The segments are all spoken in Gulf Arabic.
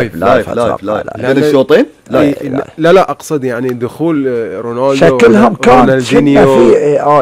لايف بين الشوطين. لا اقصد يعني دخول رونالدو شكلهم كان في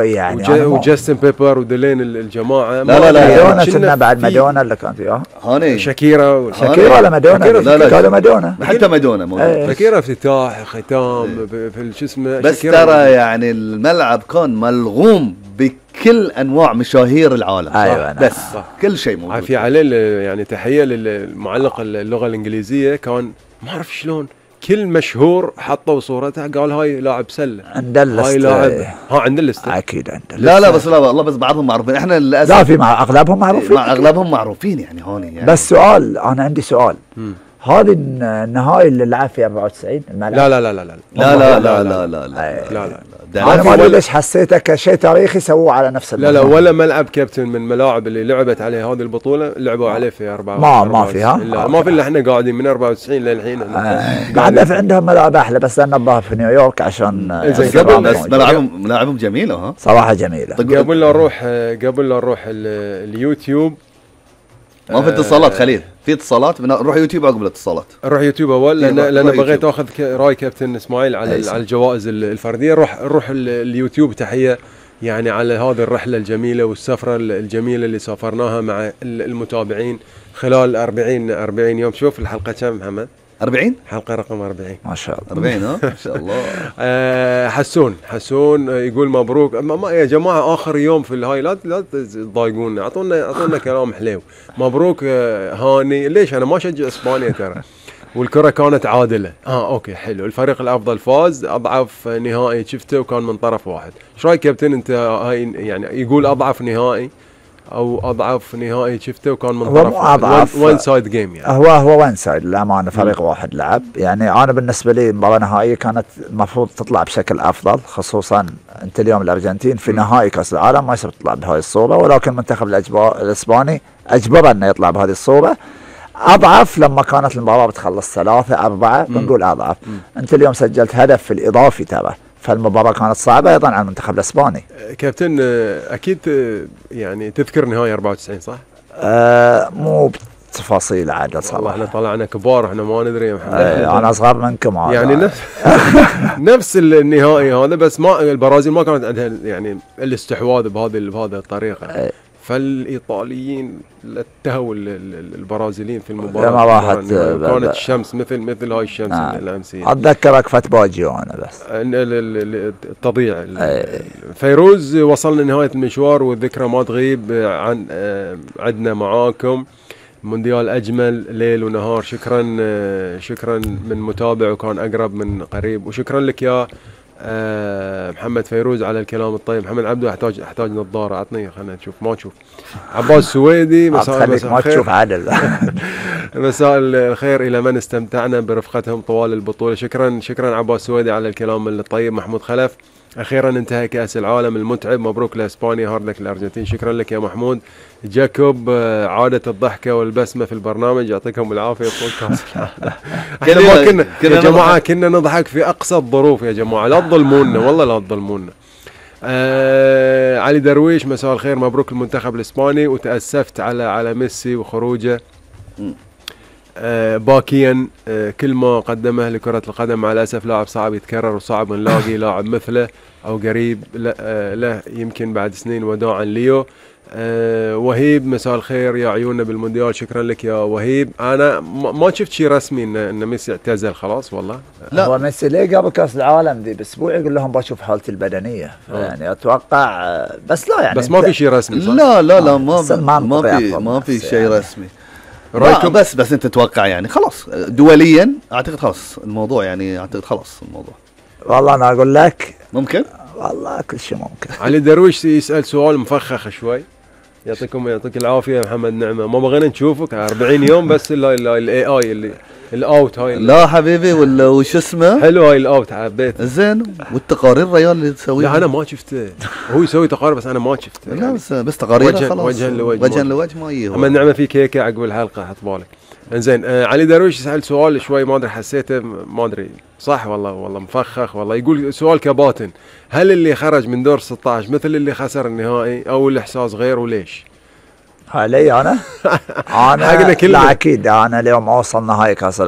يعني وجاستن بيبر وديلين الجماعه. مادونا كنا بعد مادونا اللي كان فيها هاني شاكيرا ولا مادونا قالوا مادونا حتى مادونا شاكيرا افتتاح ختام في شو اسمه. بس ترى يعني الملعب كان ملغوم بكل انواع مشاهير العالم. أيوة بس كل شيء موجود. في عليه يعني تحيه للمعلق اللغه الانجليزيه، كان ما اعرف شلون كل مشهور حطوا صورته قال هاي لاعب سله عند اللست. هاي لاعب عند اللست اكيد عند اللست. لا بس لا والله بس بعضهم معروفين. احنا للاسف لا في مع اغلبهم معروفين. مع اغلبهم معروفين يعني هوني يعني. بس سؤال، انا عندي سؤال. هذه النهائي اللي لعب في 94 الملعب؟ لا انا ما ادري ليش حسيته كشيء تاريخي سووه على نفس الملعب. لا ولا ملعب كابتن من الملاعب اللي لعبت عليه هذه البطوله لعبوا عليه في 94. ما فيها ما في الا احنا قاعدين من 94 للحين. قاعد في عندهم ملعب احلى، بس انا الظاهر في نيويورك عشان بس ملاعبهم جميله. ها صراحه جميله. قبل لا نروح اليوتيوب. ما في اتصالات خليل، في اتصالات نروح يوتيوب عقب الاتصالات. نروح يوتيوب اول لان بغيت اخذ راي كابتن اسماعيل على الجوائز الفرديه. نروح اليوتيوب. تحيه يعني على هذه الرحله الجميله والسفره الجميله اللي سافرناها مع المتابعين خلال 40 يوم. شوف الحلقه كم محمد؟ 40 حلقه رقم 40 ما شاء الله. 40 ما شاء الله. حسون يقول مبروك. يا جماعه اخر يوم في الهاي لا تضايقونا، اعطونا كلام حلو. مبروك هاني. ليش انا ما اشجع اسبانيا ترى والكره كانت عادله. اوكي حلو. الفريق الافضل فاز. اضعف نهائي شفته وكان من طرف واحد. ايش رايك كابتن انت؟ هاي يعني يقول اضعف نهائي او اضعف نهائي شفته وكان من طرف وان سايد جيم. يعني هو وان سايد للامانه، فريق واحد لعب. يعني انا بالنسبه لي المباراه النهائيه كانت المفروض تطلع بشكل افضل، خصوصا انت اليوم الارجنتين في نهائي كاس العالم ما يصير تطلع بهاي الصوره، ولكن المنتخب الاسباني اجبر انه يطلع بهذه الصوره. اضعف لما كانت المباراه بتخلص 3-4 بنقول اضعف. انت اليوم سجلت هدف في الاضافي ترى، فالمباراة كانت صعبة أيضا على المنتخب الإسباني. كابتن أكيد يعني تذكر نهاية 94 صح؟ مو بتفاصيل عادة صراحة. والله احنا طلعنا كبار، احنا ما ندري يا محمد. أنا أصغر منكم يعني نفس النهائي هذا، بس ما البرازيل ما كانت عندها يعني الاستحواذ بهذه الطريقة. فالإيطاليين لتهوا البرازيليين في المباراة. ما راحت كانت الشمس مثل هاي الشمس الأمسية. أتذكرك فاتباجيو أنا بس التضييع. فيروز وصلنا نهاية المشوار والذكرى ما تغيب عدنا معاكم. مونديال أجمل ليل ونهار. شكرا من متابع وكان أقرب من قريب، وشكرا لك يا محمد فيروز على الكلام الطيب. محمد عبده احتاج نظاره، عطني خلينا نشوف. ما تشوف. عباس سويدي مساء الخير. ما تشوف عدل. مساء الخير الى من استمتعنا برفقتهم طوال البطوله. شكرا عباس سويدي على الكلام الطيب. محمود خلف اخيرا انتهى كاس العالم المتعب، مبروك لاسبانيا، هارد لك الارجنتين. شكرا لك يا محمود. جاكوب عادت الضحكه والبسمه في البرنامج، يعطيكم العافيه طول كاس العالم. احنا ما كنا يا جماعه كنا نضحك في اقصى الظروف يا جماعه، لا تظلمونا والله لا تظلمونا. علي درويش مساء الخير، مبروك المنتخب الاسباني وتاسفت على ميسي وخروجه باكيا. كل ما قدمه لكرة القدم مع الأسف لاعب صعب يتكرر وصعب نلاقي لاعب مثله أو قريب له يمكن بعد سنين. وداعا ليو. وهيب مساء الخير يا عيوننا بالمونديال. شكرا لك يا وهيب. أنا ما شفت شيء رسمي إن ميسي اعتزل خلاص والله. لا هو ميسي ليه قبل كأس العالم دي بأسبوع يقول لهم بشوف حالتي البدنية. يعني أتوقع بس لا يعني بس ما في شيء رسمي صح؟ لا ما في شيء رسمي. رايكم بس انت تتوقع يعني خلاص دوليا اعتقد خلاص الموضوع يعني اعتقد خلاص الموضوع. والله انا اقول لك ممكن والله كل شيء ممكن. علي درويش يسأل سؤال مفخخ شوي. يعطيك العافية يا محمد نعمة. ما بغينا نشوفك 40 يوم بس الاي اي اللي الاوت هاي. لا حبيبي ولا وش اسمه حلو هاي الاوت حبيت زين. والتقارير ريال اللي تسويها. لا انا ما شفته. هو يسوي تقارير بس انا ما شفته. لا بس تقارير خلاص وجها لوجه ما يجي. محمد نعمة في كيكة عقب الحلقة حط بالك. انزين علي درويش يسأل سؤال شوي ما ادري حسيته ما ادري صح والله مفخخ والله. يقول سؤال كباتن، هل اللي خرج من دور 16 مثل اللي خسر النهائي او الاحساس غير وليش؟ علي انا حقنا كلنا. لا اكيد انا اليوم اوصل نهائي كاس العالم